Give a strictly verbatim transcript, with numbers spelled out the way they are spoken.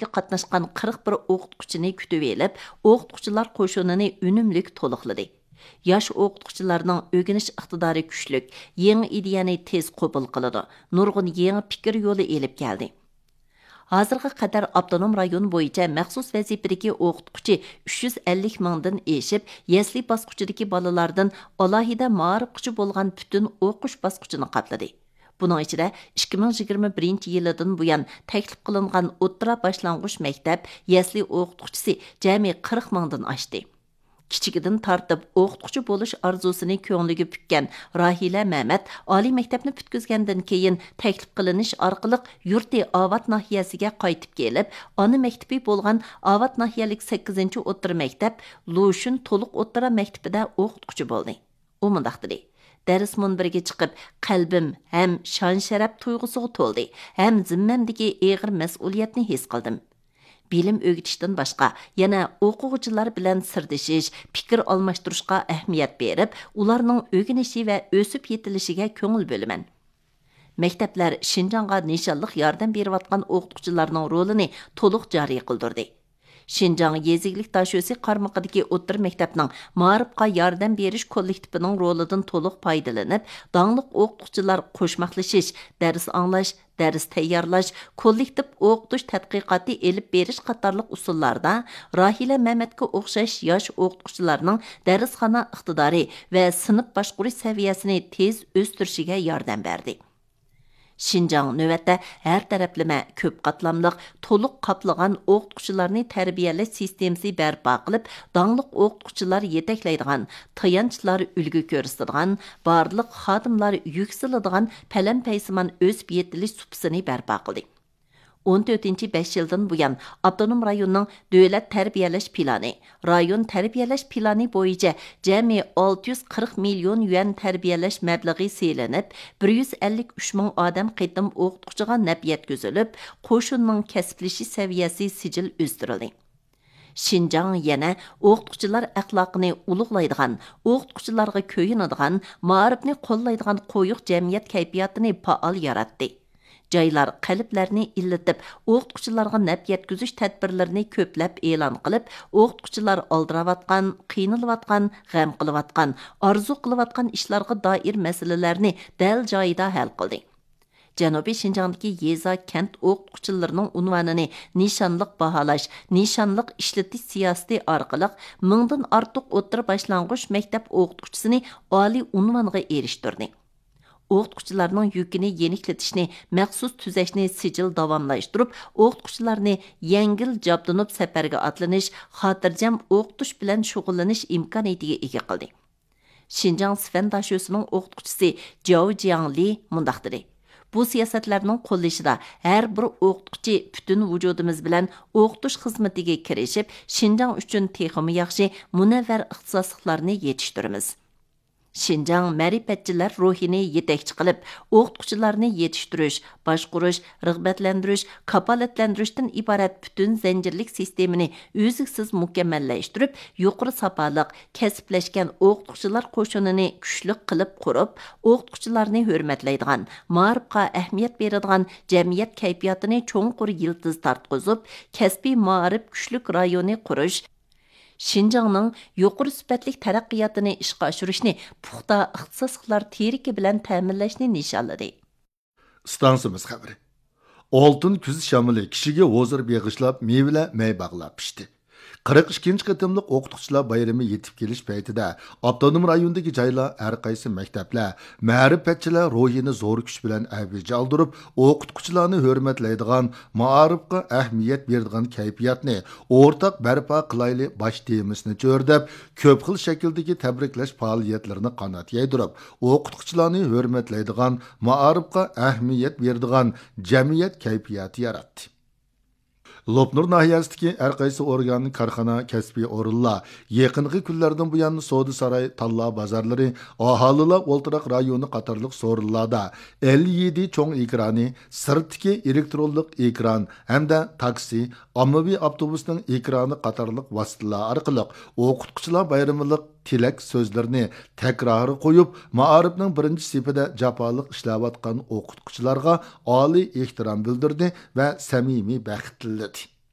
قاتناشقان قىرىق بىر ئوقۇتقۇچىنى كۈتۈۋېلىپ، ئوقۇتقۇچىلار قوشۇنىنى ئۈنۈملۈك تولۇقلىدى. ياش ئوقۇتقۇچىلارنىڭ ئۆگىنىش ئىقتىدارى كۈچلۈك، يېڭى ئىدىيەنى تېز قوبۇل قىلىدۇ، نۇرغۇن يېڭى پىكىر يولى ئېلىپ كەلدى. ھازىرغا قەدەر ئاپتونوم رايون بويىچە مەخسۇس ۋەزىپىدىكى ئوقۇتقۇچى ئۈچ يۈز ئەللىك مىڭدىن ئېشىپ، يەسلى باسقۇچىدىكى بالىلاردىن ئالاھىدە مائارىپقىچە بولغان پۈتۈن ئوقۇش باسقۇچىنى قاپلىدى. بۇنىڭ ئىچىدە ئىككى مىڭ يىگىرمە بىرىنچى يىلىدىن بۇيان تەكلىپ قىلىنغان ئوتتۇرا باشلانغۇچ مەكتەپ يەسلى ئوقۇتقۇچىسى جەمئىي قىرىق مىڭدىن ئاشتى. كىچىكىدىن تارتىپ ئوقۇتقۇچى بولۇش ئارزۇسىنى كۆڭلىگە پۈككەن راھىلە مەمەت ئالىي مەكتەپنى پۈتكۈزگەندىن كېيىن، تەكلىپ قىلىنىش ئارقىلىق يۇرتى ئاۋات ناھىيەسىگە قايتىپ كېلىپ، ئانا مەكتىپى بولغان ئاۋات ناھىيەلىك سەككىزىنچى ئوتتۇرا مەكتەپ لۇشۈن تولۇق ئوتتۇرا مەكتىپىدە ئوقۇتقۇچى بولدى. ئۇ مۇنداق دېدى: دەرس مۇنبىرىگە چىقىپ، قەلبىم ھەم شان-شەرەپ تۇيغۇسىغا تولدى، ھەم زىممەمدىكى ئېغىر مەسئۇلىيەتنى ھېس قىلدىم. بىلىم ئۆگىتىشتىن باشقا، يەنە ئوقۇغۇچىلار بىلەن سىردىشىش، پىكىر ئالماشتۇرۇشقا ئەھمىيەت بېرىپ، ئۇلارنىڭ ئۆگىنىشى ۋە ئۆسۈپ يېتىلىشىگە كۆڭۈل بۆلىمەن. مەكتەپلەر شىنجاڭغا نىشانلىق ياردەم بېرىۋاتقان ئوقۇتقۇچىلارنىڭ رولىنى تولۇق جارى قىلدۇردى. شىنجاڭ يېزا ئىگىلىك داشۆسى قارمىقىدىكى ئوتتۇرا مەكتەپنىڭ مائارىپقا ياردەم بېرىش كوللېكتىپىنىڭ رولىدىن تولۇق پايدىلىنىپ، داڭلىق ئوقۇتقۇچىلار قوشماقلىشىش، دەرس ئاڭلاش، دەرس تەييارلاش، كوللېكتىپ ئوقۇتۇش تەتقىقاتى ئېلىپ بېرىش قاتارلىق ئۇسۇللاردا راھىلە مەمەتكە ئوخشاش ياش ئوقۇتقۇچىلارنىڭ دەرسخانا ئىقتىدارى ۋە سىنىپ باشقۇرۇش سەۋىيەسىنى تېز ئۆستۈرۈشىگە ياردەم بەردى. شىنجاڭ نۆۋەتتە ھەر تەرەپلىمە، كۆپ قاتلاملىق، تولۇق قاپلىغان ئوقۇتقۇچىلارنى تەربىيەلەش سىستېمىسى بەرپا قىلىپ، داڭلىق ئوقۇتقۇچىلار يېتەكلەيدىغان، تايانچلار ئۈلگە كۆرسىتىدىغان، بارلىق خادىملار يۈكسىلىدىغان پەلەمپەيسىمان ئۆسۈپ يېتىلىش سۇپىسىنى بەرپا قىلدى. ئون تۆتىنچى بەش يىلدىن بۇيان، ئاپتونوم رايوننىڭ دۆلەت تەربىيەلەش پىلانى، رايون تەربىيەلەش پىلانى بويىچە جەمئىي ئالتە يۈز قىرىق مىليون يۈەن تەربىيەلەش مەبلىغى سېلىنىپ، بىر يۈز ئەللىك ئۈچ مىڭ ئادەم قېتىم ئوقۇتقۇچىغا نەپ يەتكۈزۈلۈپ، قوشۇننىڭ كەسىپلىشىش سەۋىيەسى سىجىل ئۆستۈرۈلدى. شىنجاڭ يەنە ئوقۇتقۇچىلار ئەخلاقىنى ئۇلۇغلايدىغان، ئوقۇتقۇچىلارغا كۆيۈنىدىغان، مائارىپنى قوللايدىغان قويۇق جەمئىيەت كەيپىياتىنى پائال ياراتتى. جايلار قەلبلەرنى ئىللىتىپ، ئوقۇتقۇچىلارغا نەپ يەتكۈزۈش تەدبىرلىرىنى كۆپلەپ ئېلان قىلىپ، ئوقۇتقۇچىلار ئالدىراۋاتقان، قىينىلىۋاتقان، غەم قىلىۋاتقان، ئارزۇ قىلىۋاتقان ئىشلارغا دائىر مەسىلىلەرنى دەل جايىدا ھەل قىلدى. جەنۇبىي شىنجاڭدىكى يېزا، كەنت ئوقۇتقۇچىلىرىنىڭ ئۇنۋانىنى نىشانلىق باھالاش، نىشانلىق ئىشلىتىش سىياسىتى ئارقىلىق مىڭدىن ئارتۇق ئوتتۇرا باشلانغۇچ مەكتەپ ئوقۇتقۇچىسىنى ئالىي ئۇنۋانغا ئېرىشتۈردى. ئوقۇتقۇچىلارنىڭ يۈكىنى يېنىكلىتىشنى، مەخسۇس تۈزەشنى سىجىل داۋاملاشتۇرۇپ، ئوقۇتقۇچىلارنى يەڭگىل جابدۇنۇپ سەپەرگە ئاتلىنىش، خاتىرجەم ئوقۇتۇش بىلەن شۇغۇللىنىش ئىمكانىيىتىگە ئىگە قىلدى. شىنجاڭ سىفەن داشۆسىنىڭ ئوقۇتقۇچىسى جياۋ جياڭلى مۇنداق دېدى: بۇ سىياسەتلەرنىڭ قوللىشىدا ھەر بىر ئوقۇتقۇچى پۈتۈن ۋۇجۇدىمىز بىلەن ئوقۇتۇش خىزمىتىگە كىرىشىپ، شىنجاڭ ئۈچۈن تېخىمۇ ياخشى، مۇنەۋۋەر ئىختىساسلىقلارنى يېتىشتۈرىمىز. شىنجاڭ مەرىپەتچىلەر روھىنى يېتەكچى قىلىپ، ئوقۇتقۇچىلارنى يېتىشتۈرۈش، باشقۇرۇش، رىغبەتلەندۈرۈش، كاپالەتلەندۈرۈشتىن ئىبارەت پۈتۈن زەنجىرلىك سىستېمىنى ئۈزلۈكسىز مۇكەممەللەشتۈرۈپ، يۇقىرى ساپالىق، كەسىپلەشكەن ئوقۇتقۇچىلار قوشۇنىنى كۈچلۈك قىلىپ قۇرۇپ، ئوقۇتقۇچىلارنى ھۆرمەتلەيدىغان، مائارىپقا ئەھمىيەت بېرىدىغان جەمئىيەت كەيپىياتىنى چوڭقۇر يىلتىز تارتقۇزۇپ، كەسپىي مائارىپ كۈچلۈك رايونى قۇرۇش، شىنجاڭنىڭ يۇقىرى سۈپەتلىك تەرەققىياتىنى ئىشقا ئاشۇرۇشنى پۇختا ئىختىساسلىقلار تىرىكى بىلەن تەمىنلەشنى نىشانلىدى. ئىستانسىمىز خەۋىرى. ئالتۇن كۈز شامىلى كىشىگە ھۇزۇر بېغىشلاپ، مېۋىلەر مەي باغلار پىشتى. قىرىق ئىككىنچى قېتىملىق ئوقۇتقۇچىلار بايرىمى يېتىپ كېلىش پەيتىدە، ئاپتونوم رايوندىكى جايلار، ھەر قايسى مەكتەپلەر مەرىپەتچىلەر روھىنى زور كۈچ بىلەن ئەۋج ئالدۇرۇپ، ئوقۇتقۇچىلارنى ھۆرمەتلەيدىغان، مائارىپقا ئەھمىيەت بېرىدىغان كەيپىياتنى ئورتاق بەرپا قىلايلى باش تېمىسىنى چۆرىدەپ، كۆپ خىل شەكىلدىكى تەبرىكلەش پائالىيەتلىرىنى قانات يايدۇرۇپ، ئوقۇتقۇچىلارنى ھۆرمەتلەيدىغان، مائارىپقا ئەھمىيەت بېرىدىغان جەمئىيەت كەيپىياتى ياراتتى. لوپنۇر ناھىيەسىدىكى ھەر قايسى ئورگان، كارخانا، كەسپىي ئورۇنلار يېقىنقى كۈنلەردىن بۇيان سودا ساراي، تاللا بازارلىرى، ئاھالىلەر ئولتۇراق رايونى قاتارلىق سورۇنلاردا ئېل ئى دى چوڭ ئېكرانى، سىرتتىكى ئېلېكترونلۇق ئېكران ھەمدە تاكسى، ئاممىۋى ئاپتوبۇسنىڭ ئېكرانى قاتارلىق ۋاسىتىلەر ئارقىلىق ئوقۇتقۇچىلار بايرىملىق تىلەك سۆزلىرىنى تەكرار قويۇپ، مائارىپنىڭ بىرىنچى سېپىدە جاپالىق ئىشلەۋاتقان ئوقۇتقۇچىلارغا ئالىي ئېھتىرام بىلدۈردى ۋە سەمىمىي بەخت تىلىدى.